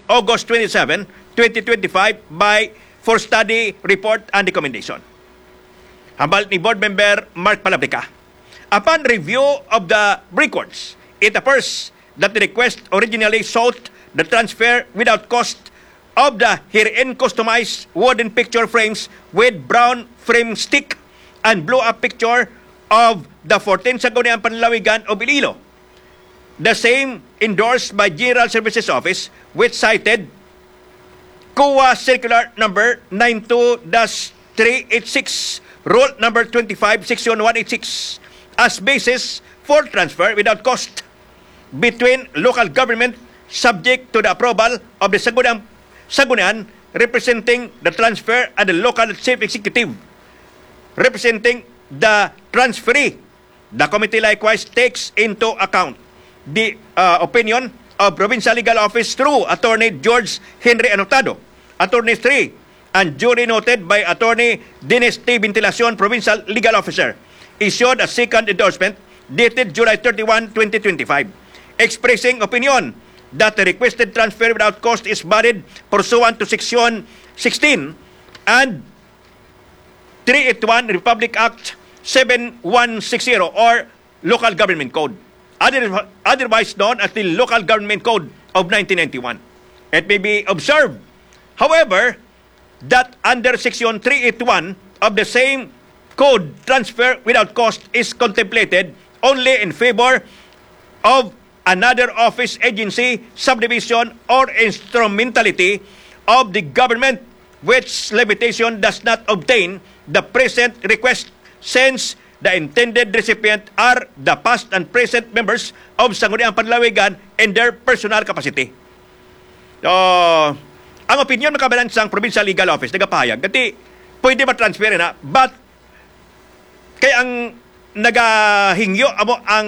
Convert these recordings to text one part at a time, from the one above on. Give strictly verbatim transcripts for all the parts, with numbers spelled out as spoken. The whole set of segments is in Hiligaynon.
August twenty-seven, twenty twenty-five by for study report and recommendation. Hambal ni Board Member Mark Palabrica. Upon review of the records, it appears that the request originally sought the transfer without cost of the herein customized wooden picture frames with brown frame stick and blow-up picture of the fourteen Sangguniang Panlalawigan of Iloilo. The same endorsed by General Services Office, which cited COA Circular Number nine two dash three eight six, Rule Number twenty-five, Section one eight six, as basis for transfer without cost between local government, subject to the approval of the Sangguniang, Sanggunian representing the transfer and the local chief executive representing the transferee. The committee likewise takes into account the, uh, opinion of Provincial Legal Office through Attorney George Henry Anotado, Attorney three, and duly noted by Attorney Dennis T. Ventilacion, Provincial Legal Officer, issued a second endorsement dated July thirty-one, twenty twenty-five, expressing opinion that the requested transfer without cost is valid pursuant to Section sixteen and three eight one, Republic Act seven one six zero, or Local Government Code, other-, otherwise known as the Local Government Code of nineteen ninety-one. It may be observed, however, that under Section three eight one of the same code, transfer without cost is contemplated only in favor of another office, agency, subdivision, or instrumentality of the government, which limitation does not obtain the present request, since the intended recipient are the past and present members of Sangguniang Panlalawigan in their personal capacity. So, ang opinion, mga kabanan, sang Provincial Legal Office nagapahayag kati pwede ma-transfer na, but kay ang nagahingyo amo ang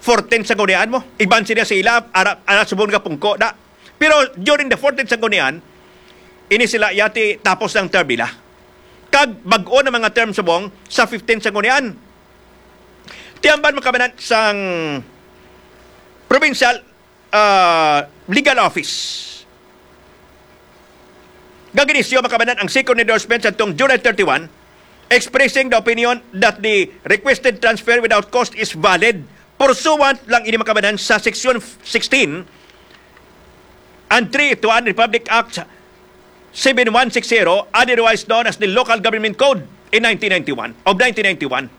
fourteen Sanggunian mo. Iban sila sa ila, ara, ara subong nga pungko na. Pero during the fourteen Sanggunian, ini sila yati tapos ng term nila. Kag bag-o na mga term subong sa fifteen Sanggunian. Tiamban, mga kabanan, sang Provincial, ah, Legal Office. Gag-inisyu, mga kabanan, ang second endorsement sa tong July thirty-one, expressing the opinion that the requested transfer without cost is valid pursuant lang ini, mga kabanan, sa Section sixteen and three eight one Republic Act seven one six zero, otherwise known as the Local Government Code in nineteen ninety-one, of nineteen ninety-one.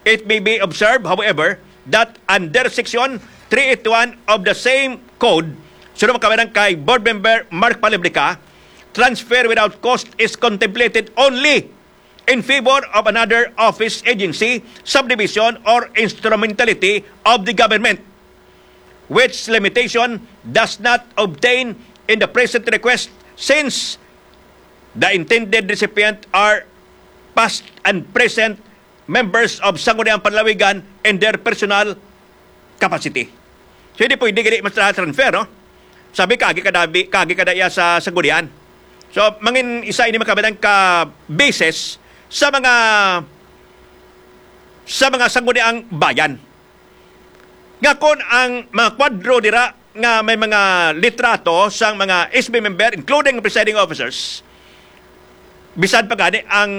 It may be observed, however, that under Section three eight one of the same code, sunod, mga kabanan, kay Board Member Mark Palabrica, transfer without cost is contemplated only in favor of another office, agency, subdivision, or instrumentality of the government, which limitation does not obtain in the present request, since the intended recipient are past and present members of Sangguniang Panlalawigan in their personal capacity. So, hindi pwede gali mas transfer, no? Sabi, kagi ka dabi, kagi ka daya sa Sanggunian. So, mangin isa ini, mga kabanan, ka basis sa mga, sa mga Sangguniang Bayan. Nga kon ang mga kwadro dira nga may mga litrato sang mga S B member, including presiding officers, bisan pa gani ang,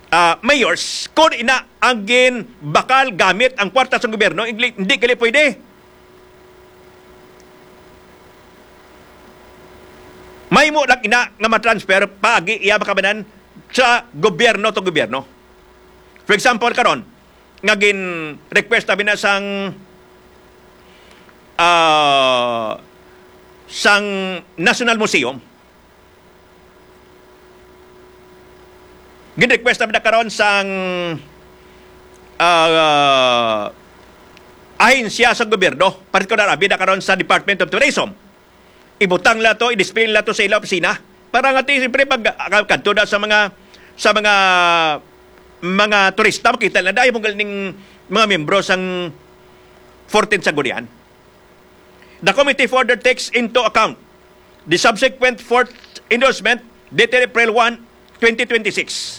ah, mayors, kon ina ang ginbakal gamit ang kwarta sa gobyerno, hindi, hindi gali pwede. Mahimo lang ina nga ma-transfer paagi iya makabanan sa gobyerno to gobyerno. For example, karon, nga gin-request namin na sang, ah, sang National Museum. Gin-request namin na karon sang, ah, ahensya sa gobyerno, partikular abi na karon sa Department of Tourism. Ibutang nila to, i-display nila to sa ila opisina. Para nga ti, siyempre, pag, ah, kadto na sa mga, sa mga, mga turista, makita nila, dahil mong galing mga membro sang fourteen Sanggunian. The committee further takes into account the subsequent fourth endorsement dated April one, twenty twenty-six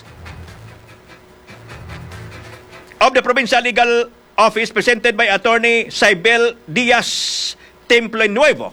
of the Provincial Legal Office presented by Attorney Cybel Diaz Templenuevo,